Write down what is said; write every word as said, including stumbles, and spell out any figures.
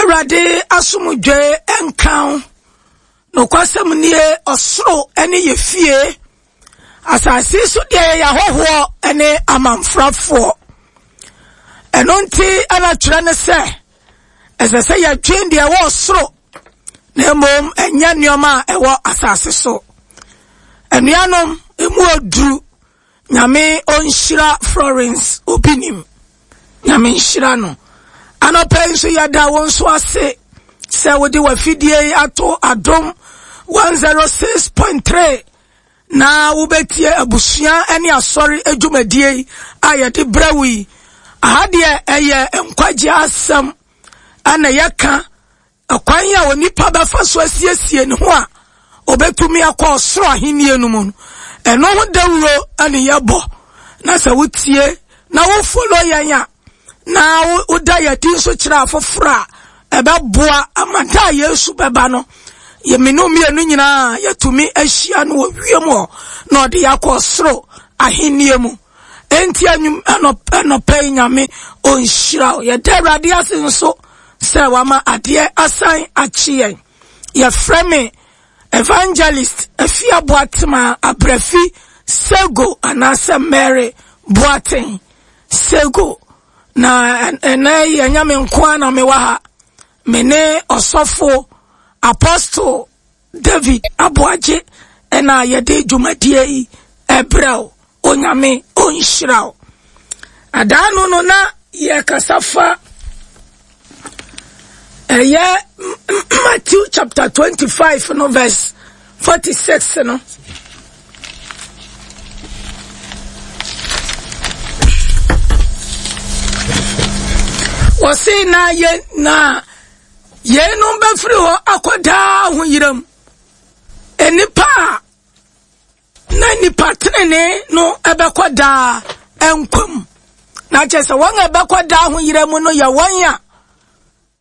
Awurade asomdwoe nka wo. Nokwasɛm nie, ɔsoro ne yɛ fie. Asase so deɛ yɛyɛ ahɔhoɔ ne amamfrafoɔ. Ɛno nti ɛna twerɛ ne sɛ, ɛsɛ sɛ yɛdwen deɛ ɛwɔ ɔsoro na mmom ɛnyɛ nneɛma a ɛwɔ asase so. Anuanom, emu oduru. Nyame ɔnhyira Florence Obinim. Nyame nhyira no. Anɔpa yi nso yɛda wo nso ase sɛ wode w'afidie yi ato Adom one oh six point three na wobɛtie abusua ne asɔre adwumadie yi a yɛde brɛ wo yi. Aha deɛ, ɛyɛ nkwagye asɛm ɛna yɛka ɛkwan a onipa bɛfa so asiesie ne ho a obɛtumi akɔ ɔsoro ahennie no mu no, ɛno ho dawuro ɛne yɛbɔ. Na sɛ wotie na wo follow yɛn a, na woda yɛdi nso kyerɛ afoforɔ a, ɛbɛboa ama da a Yesu bɛba no, yɛmene mmienu nyinaa yɛtumi ahyia no wɔ wiem hɔ na ɔde yɛakɔ ɔsoro ahennie mu. Enti anɔpɛ yi, Nyame ɔnhyira wo. Yɛda Awurade ase nso sɛ wama adeɛ asan akye yɛn. Yɛfrɛ me Evangelist Afia Boatema Abrafi Sego anaasɛ Mary Boaten Sego. Na ɛnɛ yi, ɛnyɛ me nko a na mewɔ ha. Me ne ɔsɔfo Apostle David Aboagye ɛna yɛde dwumadie yi ɛbrɛ wo. Onyame ɔnhyira wo. Adaa no no na yɛkasa fa ɛyɛ Matthew chapter twenty-five no verse forty-six no. Wɔse na yɛ na yeinom bɛfiri hɔ akɔ daa ahoyera mu, nnipa a na nipa tenene no ɛbɛkɔ daa nkwa mu. Na kyerɛ sɛ wɔn a ɛbɛkɔ daa ahoyera mu no yɛ wɔn a